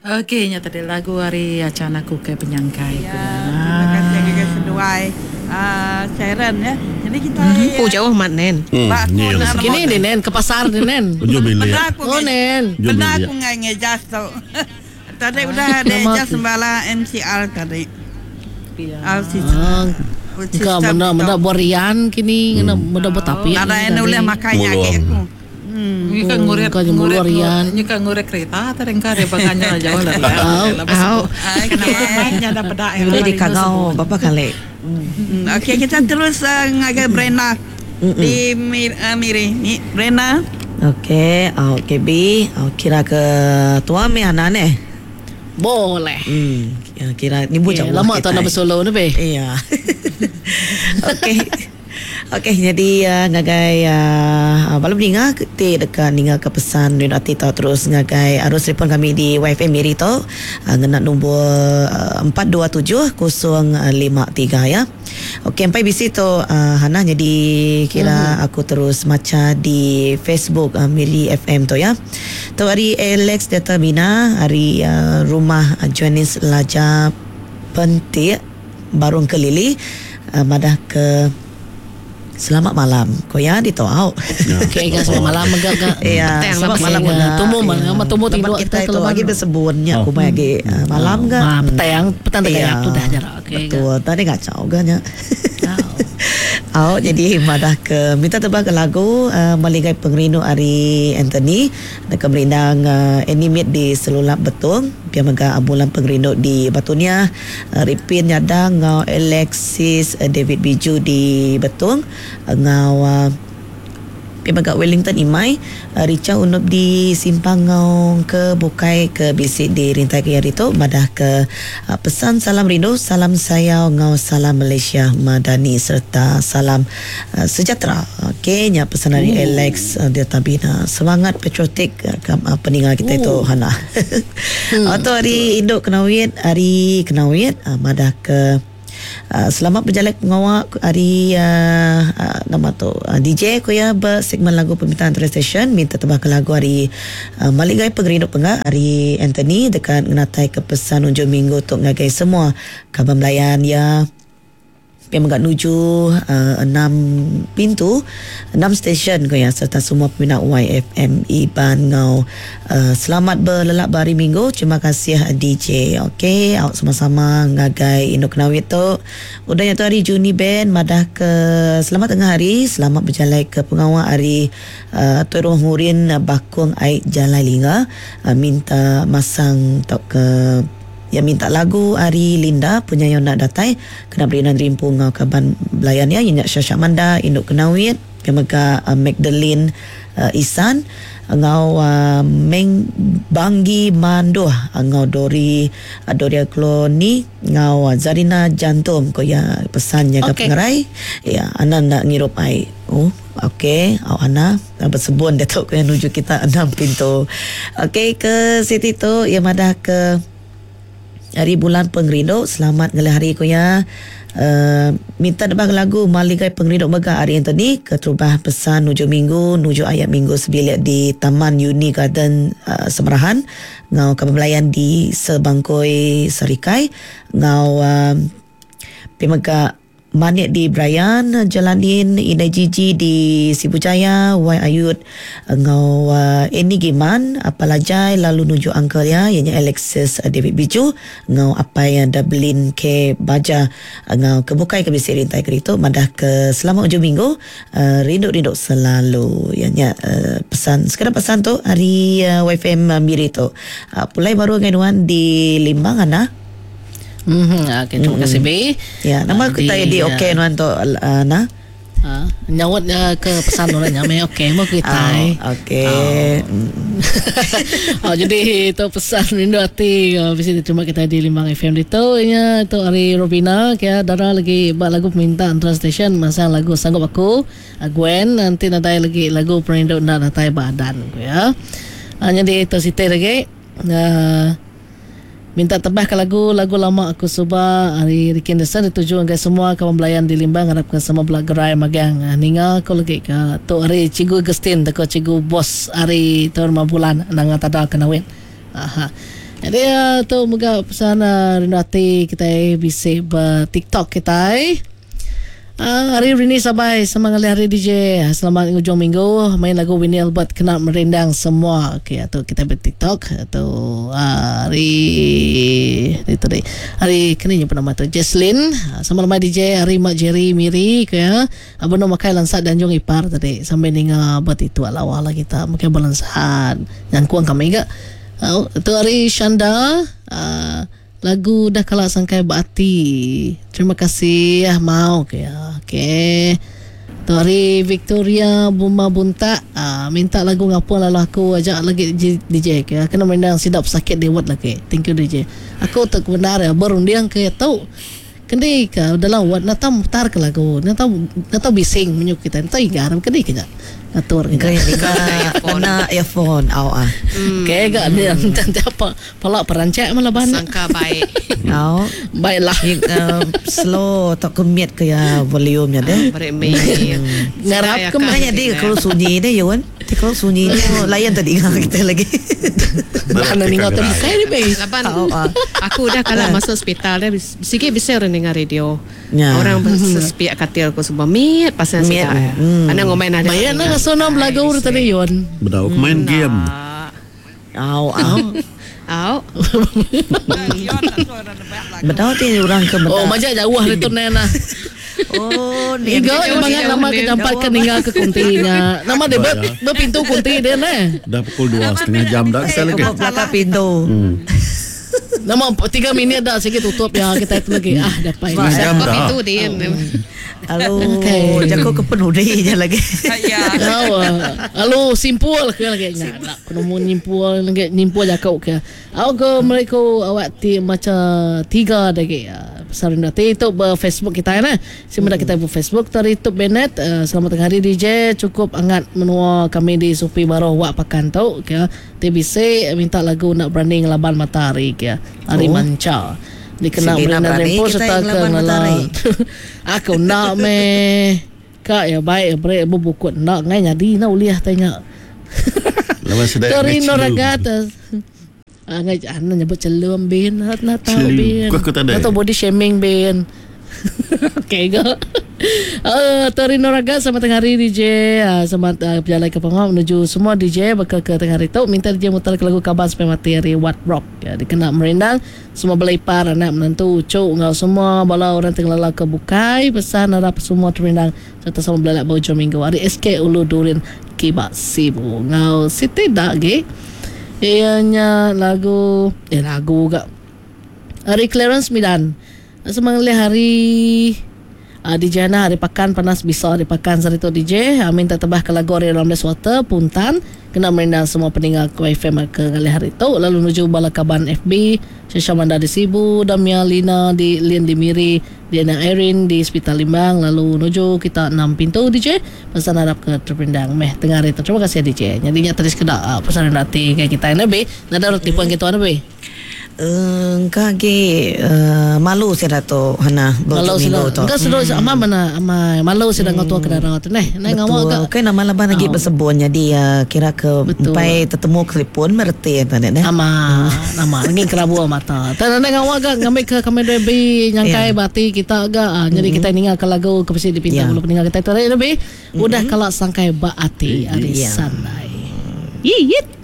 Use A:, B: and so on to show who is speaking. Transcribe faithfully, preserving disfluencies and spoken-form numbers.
A: Okey, nya tadi lagu ari Achan aku ke penyangkai.
B: Ya, terima kasih ngagai seduai uh, Sharon ya. Jadi kita mm-hmm.
C: Oh, jauh mat nen.
D: Hmm,
B: Ba aku
D: nyil.
B: nak
C: Kini ni nen ke pasar ni nen.
D: Ujung bilik.
B: Benda aku
C: Oh nen.
D: Jom
B: Benda
D: bilik.
B: aku ngai ngejas tu. Tadi udah ada
C: Nama
B: adjust
C: tu?
B: bala M C R tadi.
A: Ya.
B: R C C.
C: Ah, Engkau menda menda borian kini ngena menda bertapi.
B: Ada yang boleh makan
D: Mulu.
B: lagi aku. Hmm.
A: Ni kan nguret
C: Kau yang
A: nguret
C: mulu rian.
A: Ni kan nguret kereta tadi engkau ada baganya jauh lah.
C: Au.
E: Au.
B: Okey.
A: Nya ada pedak.
E: Boleh dikagau berapa kali?
B: Hmm, Okey, kita terus uh, ngagai Brenda di Mir, uh, Miri. Ni Brenda.
E: Okey, okey B. Oh, kira ke tua mi anak ni.
C: Boleh.
E: Hmm, ya, kira ni bu
C: Okay,
E: jauh.
C: lama tak nak bersolo ni be.
E: Iya. Okey. Okey, jadi uh, ngagai uh, balum ninga ti dekat ninga ke pesan rindu ati tau terus ngagai arus telefon kami di Y F M Miri tu uh, ngena nombor uh, empat dua tujuh kosong lima tiga ya. Okey, empai bisi tu uh, Hana, jadi kira hmm. aku terus maca di Facebook uh, Miri F M tu ya. Tu hari Alex Data Bina, hari uh, rumah uh, Jonis Laja Pentik Barung Kelili uh, madah ke selamat malam. Koya di toau.
C: Okey, guys, selamat malam megak gak.
E: Iya,
C: Petang
E: selamat
C: lah
E: malam
C: pasal
E: mega.
C: Tumbuh malam, tumbuh
E: Lepas
C: tidur
E: kita itu
C: lepas.
E: lagi bersebunnya aku mai lagi ah, malam ga.
C: Ah, petang, petang tak
E: Iya.
C: kayak tu dah jarak. Okey.
E: Betul. Tadi kacau ga nya. Au, jadi madah ke minta tebak ke lagu uh, Maligai Pengerindu ari Anthony dekat merindang uh, animate di Selulap Betung pia mega Bulan Pengerindu di Batunia uh, Ripin Nyadang ngau Alexis uh, David Biju di Betung uh, ngau uh, pia mega Wellington Imai uh, Richa Unup di Simpang ngau ke Bukai ke bisik di Rintai ke hari tu madah ke uh, pesan salam rindu salam sayau ngau salam Malaysia Madani serta salam uh, sejahtera. Okey, nya pesan dari Alex uh, Delta Bina. Semangat patriotik uh, kam, uh, peninggal kita itu Hana. Hmm. Atau hari induk Kenawit, hari Kenawit uh, madah ke Uh, selamat berjalan pengawak hari uh, uh, nama tu uh, D J ko ya bersegmen lagu permintaan antara station minta tebak lagu hari uh, Maligai Pengerindu Penga hari Anthony dekat ngenatai ke pesan unjuk minggu untuk ngagai semua kaban melayan ya yang mengat nuju uh, enam pintu enam stesen ko ya serta semua peminat Y F M Iban ngau uh, selamat berlelap hari minggu. Terima kasih D J. Okey, awak sama-sama ngagai Induk Kenawit tu. Udah yang tu hari Juni Ben madah ke selamat tengah hari, selamat berjalan ke pengawal hari uh, Tuan Rumah Murin Bakung Aik Jalai Linga uh, minta masang tok ke yang minta lagu Ari Linda punya yang nak datai kena beri nan rimpu ngau kaban belayan ya inyak Syasyak Manda Induk Kenawit yang mega uh, Magdalene uh, Isan ngau uh, Meng Banggi Manduh ngau Dori uh, Doria Kloni ngau uh, Zarina Jantum ko ya pesannya ke
C: Okey.
E: pengerai ya ana nak ngirup ai. Oh, okey, awak ana bersebun datuk ko yang nuju kita enam pintu. Okey, ke Siti tu yang madah ke hari bulan pengerindu selamat ngelih hari ko ya uh, minta debang lagu Maligai Pengerindu mega hari Anthony ke terubah pesan nuju minggu nuju ayat minggu sebilik di Taman Uni Garden uh, Semerahan ngau kebelayan di Sebangkoi Serikai ngau uh, pemega Manik di Brian, Jalanin, Inai Gigi di Sibu Jaya, Y Ayut, ngau uh, Eni Giman, Apalajai, lalu nuju uncle ya, ianya Alexis uh, David Biju, ngau apa yang Dublin K Baja, ngau kebukai ke bisi rintai kerito, madah ke selamat ujung minggu, uh, rindu-rindu selalu. Ianya uh, pesan, sekarang pesan tu hari uh, Y F M uh, Miri tu. Uh, pulai baru dengan Wan di Limbang, Ana.
C: Mhm, okey, terima kasih B.
E: Ya, nama
C: Ah,
E: kita di okey nuan tu uh, nah.
C: Ah, nyawat uh, ke pesan orang nyame okey mau kita.
E: Oh, okey.
C: Oh, jadi itu pesan rindu hati uh, bisa diterima kita di Limbang F M itu nya itu hari Robina kia dara lagi bak lagu permintaan antara station masa lagu sanggup aku uh, Gwen nanti nadai lagi lagu perindu nak natai badan ya. Uh, jadi itu siti lagi uh, minta tebah ke lagu lagu lama aku suba hari Ricky Anderson dituju anggai semua kawan belayan di Limbang harapkan semua belak gerai magang ninga aku lagi ke tu hari Cikgu Agustin teko Cikgu Bos hari tu rumah bulan nanga tada kenawin. Aha. Jadi uh, tu moga pesan uh, rindu ati kita bisa ber TikTok kita. Uh, hari ini sabai sama ngalih hari D J. Selamat hujung minggu main lagu Winnie Albert kena merindang semua. Okey, atau kita ber TikTok atau uh, hari itu tadi. Hari kini nyebut nama tu Jesslyn sama nama D J hari Mak Jerry Miri ke ya. Abang nak makai lansat dan jong ipar tadi sampai ninga buat itu awal lah kita mungkin balansat yang kuang kami gak. Uh, itu hari Shanda uh, lagu dah kalah sangkai berarti. Terima kasih ya mau ke ya. Okey. Tu hari Victoria Buma Buntak ah, minta lagu ngapo lalu aku ajak lagi D J ke. Kena mendang sidap sakit dewat lagi. Thank you D J. Aku tak benar ya berundiang ke tau. Kendi ke dalam wat nak tahu mutar ke lagu. Nak tahu nak tahu bising menyuk kita. Nak tahu garam kendi ke atur
E: ke. Kena earphone au ah.
C: Okey gak dia nanti apa palak perancak malah ban.
A: Sangka baik.
E: Au.
C: Baiklah.
E: Slow tak kemit ke ya volume nya deh.
C: Ngarap ke
E: mana dia kalau sunyi deh Yun. Dia kalau sunyi layan tadi kita lagi.
C: Bukan ningat tu saya ni baik.
A: Laban aku dah kalau masuk hospital dah sikit bisa orang dengar radio. Orang sespiak katil aku semua mit pasal saya. Ana ngomain ada.
C: Bayar nak sonam lagu tadi Yun.
D: Bedau main game.
E: Au au.
A: Au.
E: Bedau ti orang ke
C: bedau. Oh majak jauh itu nena.
E: Oh, ni
C: Iga bangat nama ke jampat ke ninggal ke kuntinya. Nama dia ber, berpintu kunti dia ne.
D: Dah pukul dua setengah jam dah saya lagi.
E: Belakang pintu.
D: Hmm.
C: Nama tiga minit dah sikit tutup ya kita itu lagi. Ah dapat.
D: Setengah jam dah.
A: Pintu dia.
E: Halo,
C: okay.
E: Jago ke penudi je lagi.
B: Ya.
C: Halo, simpul ke lagi. Nak kena mu nyimpul lagi nyimpul jakau ke. Aku ke mereka awak ti macam tiga lagi. Pasal rindu hati itu ber Facebook kita nah. Simpan kita ber Facebook tadi itu Bennett. Uh, selamat tengah hari D J. Cukup hangat menua kami di Supi Baroh Wak Pakan tu ke. T B C minta lagu nak berani ngelaban matahari ke. Hari oh. Manca. Dikena berani rempo serta ke ngela. Aku nak me. Kak ya baik bre bubukut nak ngai nyadi nak uliah tanya.
D: Lepas sudah
C: Tori Noragata. Ah ngai ana nyebut celum bin, nak tahu bin. Atau body shaming bin. Okey go. Uh, Tori Noraga selamat tengah hari D J. Uh, selamat uh, berjalan ke pengawal menuju semua D J bakal ke tengah hari tu. Minta D J mutar ke lagu Kaban Sampai Mati hari What Rock. Ya, dikena merindang semua belaipar anak menantu ucuk ngau semua bala orang tengah ke bukai pesan harap semua terindang serta sama belalak bau hujung minggu hari S K Ulu Durin Kibak Sibu ngau Siti dak ge. Ianya lagu eh lagu gak hari Clarence Midan. Semangat hari uh, D J Ana hari pakan panas bisa hari pakan sari tu D J. Uh, minta tebah ke lagu hari Ramles Water Puntan kena merindang semua peninggal ke F M ke kali hari tu lalu menuju Balakaban F B Shisha Manda di Sibu Damia Lina di Lin di Miri Diana Erin di Hospital Limbang lalu menuju kita enam pintu D J pesan harap ke terperindang meh tengah hari tu. Terima kasih D J. Jadinya terus kena uh, pesan nanti kayak kita lebih nada roti puan kita lebih.
E: Engkau ke malu saya tu hana
C: malu sudah engkau sudah ama mana ama malu sudah ngau tua ke darah tu neh neh ngau
E: ke kan nama laban lagi bersebun jadi kira ke empai tetemu telefon merti tadi neh
C: ama nama lagi kerabu mata tak neh ngau agak ngambil ke kami lebih nyangkai bati kita agak jadi kita ningal ke lagu ke pesi dipinta bulu peninggal kita tu lebih udah kalau sangkai baati ari sanai yit.